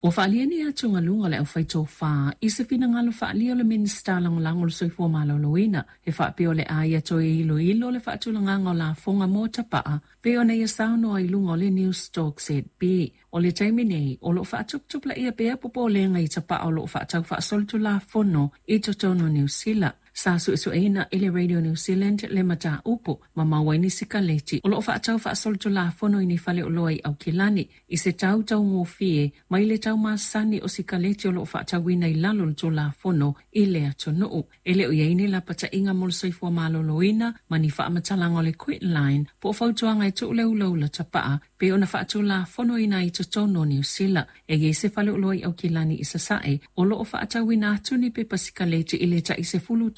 Ua faaalia ni atugaluga a le aufaitofa i se finagalo faaalia o le Minisita Lagolago o le Soifua Maloloina e faapea o le a ia toe iloilo le faatulagaga o lafoga mo tapaa pei ona ia saunoa i luga o le Newstalk ZB. O le taimi nei, o lo o faatuputupulaia pea popolega i tapaa o lo o faatau faasolitulafono i totonu o Niu Sila. Sa suesueina e le Radio New Zealand le mataupu ma maua ai ni sikaleti o lo o faatau faasolitulafono i ni faleoloa i Aukilani i se tau taugofie mai le tau masani o sikaleti o lo o faatauina i lalo o le Tulafono i le atunuu. E le o i ai ni lapataiga mo le soifua maloloina ma ni faamatalaga o le Quitline po o fautuaga e tuu le ulaula tapaa pei ona faatulafonoina ai i totonu o Niu Sila. E i ai se faleoloa i Aukilani i Sasae o lo o faatauina atu ni pepa sikaleti i le tai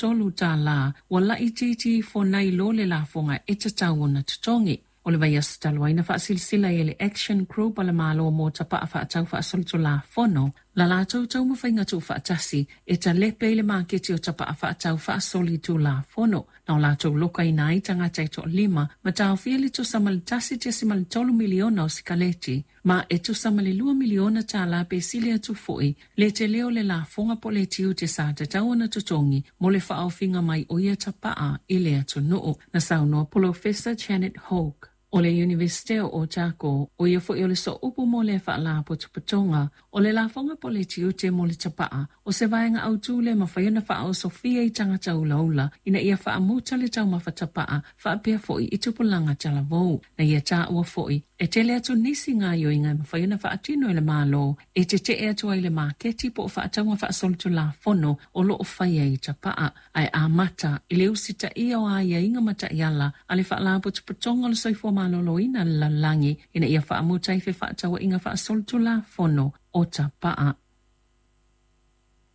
$13, ua laitiiti ifo nai lo le lafoga e tatau ona totogi. O le vaiaso talu ai na faasilasila ai e le Action Group a le Malo mo Tapaa Faatau Faasolitulafono la latou taumafaiga tuufaatasi e talepe i le maketi o tapaa faatau faasolitulafono na o latou lokaina ai tagata e toalima ma taofia le tusa ma le 1.3 miliona o sikaleti ma e tusa ma le $2 miliona pe sili atu foi le tele o le lafoga po o le tiute sa tatau ona totogi mo le faaofiga mai o ia tapaa i le atunuu. Na saunoa Polofesa Janet Hoke o le Iunivesite o Otago, ʻo ia foi o le sooupu mo lea faalapotopotoga, o le lafoga po o le tiute mo le tapaa, o se vaega autū le mafai ona faaosofia i tagata ulaula ina ia faamuta le taumafa tapaa faapea foi i tupulaga talavou. Na ia taua foi, e tele atu nisi gaoioiga e mafai ona faatino e le Malo e tetee atu ai le maketi po o faatauga faasolitulafono o lo o faia i tapaa, ae amata i le usitaia o aiaiga ma taiala a le Faalapotopotoga o le Soifua Maloloina a le Lalolagi ina ia faamuta ai fefaatauaiga faasolitulafono o tapaa.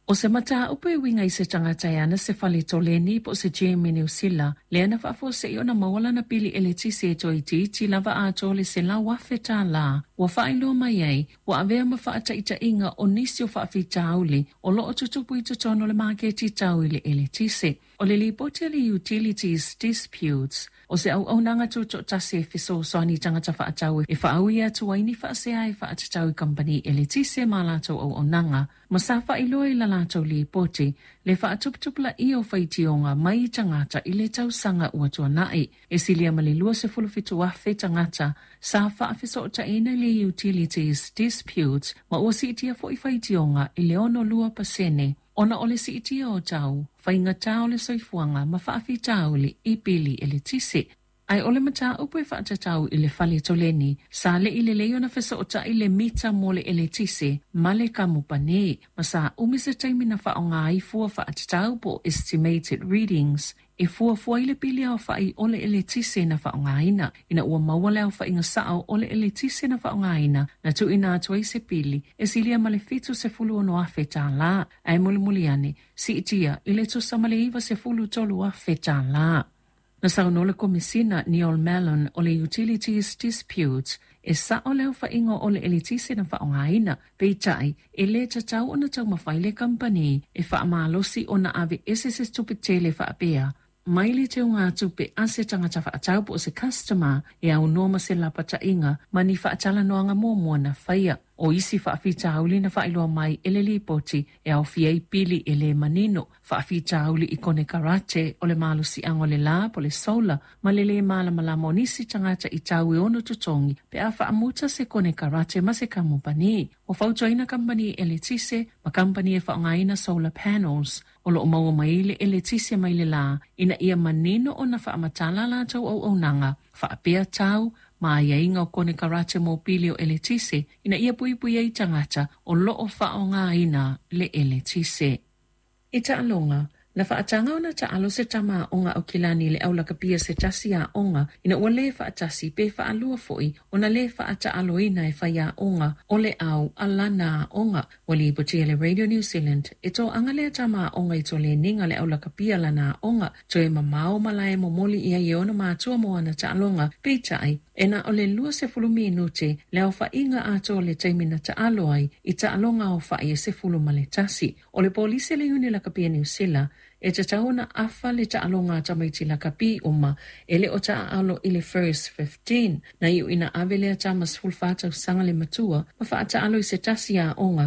ʻO se mataupu e uiga i se tagata e ana se fale toleni po o se gym i Niu Sila, lea na faafuasei ona maua lana pili eletise e toeitiiti lava atoa le $100,000, ua faailoa mai ai, ua avea ma faataitaiga o nisi o faafitauli o lo o tutupu i totonu o le maketi tau i le eletise. O le lipoti a le Utilities Disputes, o se auaunaga tutoatasi e fesoasoani i tagata faatau e faaui atu ai ni faasea e faatatau i kamupani eletise ma a latou auaunaga, ma sa faailoa i la latou lipoti le faatuputupulaia o faitioga mai i tagata i le tausaga ua tuanai. E silia ma le 27,000 tagata sa faafesootaina i le Utilities Disputes ma ua siitia foi faitioga i le 62% ona o le siitia o tau, faigata o le soifuaga ma faafitauli i pili eletise. Ae o le mataupu e faatatau i le fale toleni, sa le i lelei ona fesootai le mita mo le eletise ma le kamupani, ma sa umi se taimi na faaaoga ai fua faatatau po o estimated readings e fuafua ai le pili aofai o le eletise na faaaogaina. Ina ua maua le aofaiga sao o le eletise na faaaogaina, na tuuina atu ai se pili e silia ma le $76,000, ae mulimuli ane, siitia i le tusa ma le $93,000. Na saunoa le Komesina Neil Mallon o le Utilities Disputes, e sao le aofaiga o le eletise na faaaogaina, peitai, e le tatau ona taumafai le kamupani e faamalosi ona aveese se tupe tele faapea mai le teugatupe a se tagata faatau po o se customer e aunoa ma se lapataiga ma ni faatalanoaga muamua na faia. O isi faafitauli na faailoa mai e le lipoti e aofia ai pili e le manino, faafitauli i konekarate o le malosiaga o le la po o le solar ma le lē malamalama o nisi tagata i tau e ono totogi pe a faamuta se konekarate ma se kamupani. Ua fautuaina kamupani eletise ma kamupani e faaaogaina solar panels o lo o maua mai ai le eletise mai le la ina ia manino ona faamatala a latou auaunaga faapea tau ma aiaiga o konekarate mo pili o eletise ina ia puipui ai tagata o lo o faaaogaina le eletise. I taaloga, na faataga ona taalo se tama aoga Aukilani i le aulakapia se tasi aoga ina ua lē faatasi pe faalua foi ona lē faataaloina e faiaoga o le au a lana aoga. Ua lipotia e le Radio New Zealand, e toaga lea tama aoga i toleniga le aulakapia lana aoga, toe mamao malae momoli i ai e ona matua mo ana taaloga, peitai, e na o le 20 minute le aofaiga atoa o le taimi na taalo ai i taaloga aofai e 11. O le polisi a le Iuni Lakapi a Niu Sila, E tatau ona afa le taaloga a tamaiti lakapi uma e le o taaalo i le First 15. Na iu ina ave lea tama 14 tausaga le matua ma faataalo i se tasi aoga.